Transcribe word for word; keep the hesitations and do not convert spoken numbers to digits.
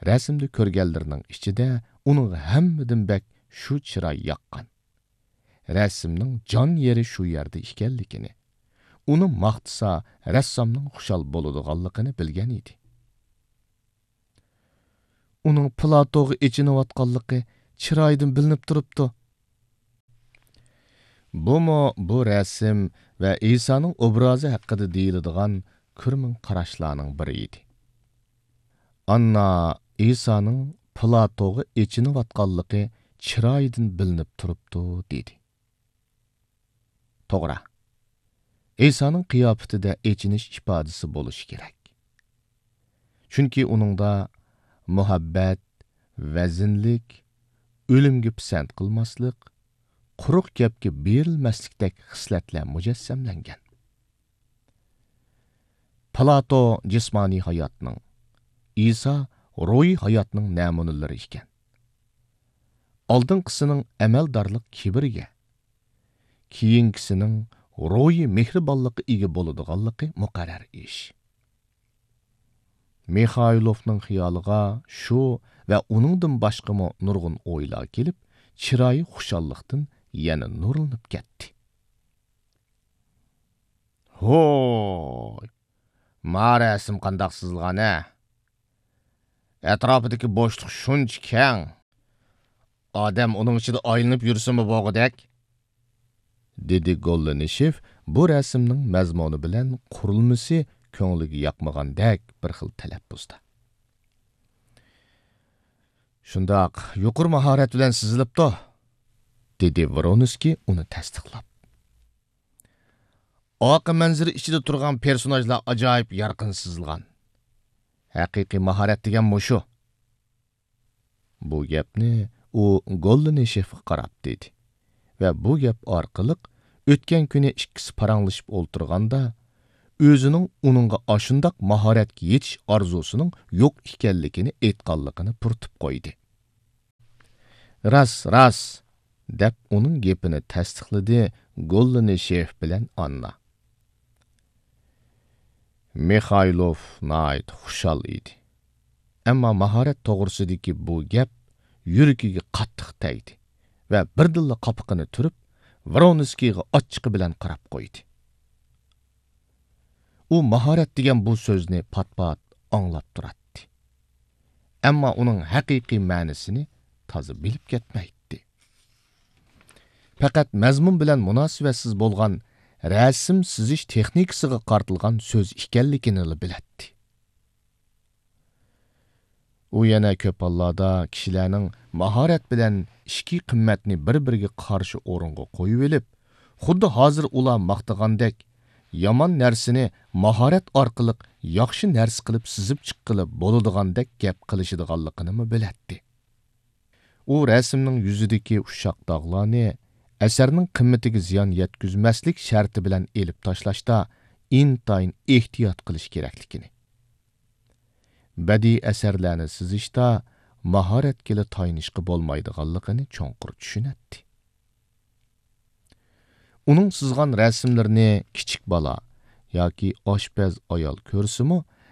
رەسىمدە كۆرگەنلىرىنىڭ ئىچىدە ئۇنىڭغا ھەممىدىن بەك شۇ چىراي ياققان. رەسىمنىڭ جان يېرى شۇ يەردە ئىكەنلىكىنى، ئۇنى ماختىسا، رەسسامنىڭ خۇشال بولىدىغانلىقىنى بىلگەن ئىدى. ئۇنىڭ پلاتوغا ئېچىنىۋاتقانلىقى چىرايىدىن بىلىنىپ تۇرۇپتۇ. بۇمۇ بۇ رەسىم ۋە ئىسانىڭ ئوبرازى ھەققىدە دېيىلىدىغان كۆرمىڭ قاراشلارنىڭ بىرى ئىدى. ئاننا ئىسانىڭ پلاتوغا ئېچىنىۋاتقانلىقى چىرايىدىن بىلىنىپ تۇرۇپتۇ، دېدى. توغرا. ئىسانىڭ قىياپىتىدە ئېچىنىش ئىپادىسى بولۇشى كېرەك. چۈنكى ئۇنىڭدا مۇھەببەت، ۋەزىنلىك، ئۆلۈمگە پىسەنت قىلماسلىق، قۇرۇق گەپكە بېرىلمەسلىكتەك خىسلەتلەر مۇجەسسەملەنگەن. پلاتو جىسمانىي ھاياتنىڭ، ئىسا روھىي ھاياتنىڭ نەمۇنىلىرى ئىكەن. ئالدىنقىسىنىڭ ئەمەلدارلىق كىبىرىگە، كېيىنكىسىنىڭ روھىي مېھرىبانلىققا ئىگە بولىدىغانلىقى مۇقەررەر ئىش. مىخايلوفنىڭ خىيالىغا شۇ ۋە ئۇنىڭدىن باشقىمۇ نۇرغۇن ئويلار كېلىپ، چىرايى خۇشاللىقتىن يەنە نۇرلىنىپ كەتتى. ھوي، ما رەسىم قانداق سىزىلغان ھە؟ ئەتراپىدىكى بوشلۇق شۇنچە كەڭ، ئادەم ئۇنىڭ ئىچىدە ئايلىنىپ يۈرسىمۇ بولغۇدەك، دېدى گوللىنىشېف بۇ رەسىمنىڭ مەزمۇنى بىلەن قۇرۇلمىسى كۆڭلىگە ياقمىغاندەك بىر خىل تەلەپپۇزدا. شۇنداق، يۇقىرى ماھارەت بىلەن سىزىلىپتۇ، دېدى ۋرونسكىي ئۇنى تەستىقلاپ. ئارقا مەنزىرە ئىچىدە تۇرغان پېرسوناژلار ئاجايىپ يارقىن سىزىلغان. ھەقىقىي ماھارەت دېگەن مۇشۇ. بۇ گەپنى ئۇ گوللىنىشېفقا قاراپ دېدى ۋە بۇ گەپ ئارقىلىق ئۆتكەن كۈنى ئىككىسى پاراڭلىشىپ ئولتۇرغاندا، ئۆزىنىڭ ئۇنىڭغا ئاشۇنداق ماھارەتكە يېتىش ئارزۇسىنىڭ يوق ئىكەنلىكىنى ئېيتقانلىقىنى پۇرىتىپ قويدى. راست، راست، دەپ ئۇنىڭ گېپىنى تەستىقلىدى گوللىنىشېف بىلەن ئاننا. مىخايلوف ناھايىتى خۇشال ئىدى. ئەمما ماھارەت توغرىسىدىكى بۇ گەپ يۈرىكىگە قاتتىق تەگدى ۋە بىردىنلا قاپىقىنى تۈرۈپ، ۋرونسكىيغا ئاچچىقى بىلەن قاراپ قويدى. ئۇ ماھارەت دېگەن بۇ سۆزنى پات-پات ئاڭلاپ تۇراتتى. ئەمما ئۇنىڭ ھەقىقىي مەنىسىنى تازا بىلىپ كەتمەيتتى. پەقەت مەزمۇن بىلەن مۇناسىۋەتسىز بولغان رەسىم سىزىش تېخنىكىسىغا قارىتىلغان سۆز ئىكەنلىكىنىلا بىلەتتى. ئۇ يەنە كۆپ ھاللاردا كىشىلەرنىڭ ماھارەت بىلەن ئىچكى قىممەتنى بىر-بىرىگە قارشى ئورۇنغا قويۇۋېلىپ، خۇددى ھازىر ئۇلار ماختىغاندەك، يامان نەرسىنى ماھارەت ئارقىلىق ياخشى نەرسە قىلىپ سىزىپ چىققىلى بولىدىغاندەك گەپ قىلىشىدىغانلىقىنىمۇ بىلەتتى. ئۇ رەسىمنىڭ يۈزىدىكى ئۇششاق داغلارنى ئەسەرنىڭ قىممىتىگە زىيان يەتكۈزمەسلىك شەرتى بىلەن ئېلىپ تاشلاشتا ئىنتايىن ئېھتىيات قىلىش كېرەكلىكىنى، بەدىئىي ئەسەرلەرنى سىزىشتا ماھارەتكىلا تايىنىشقا بولمايدىغانلىقىنى چوڭقۇر چۈشىنەتتى. ئۇنىڭ سىزغان رەسىملىرىنى كىچىك بالا ياكى ئاشپەز ئايال كۆرسىمۇ،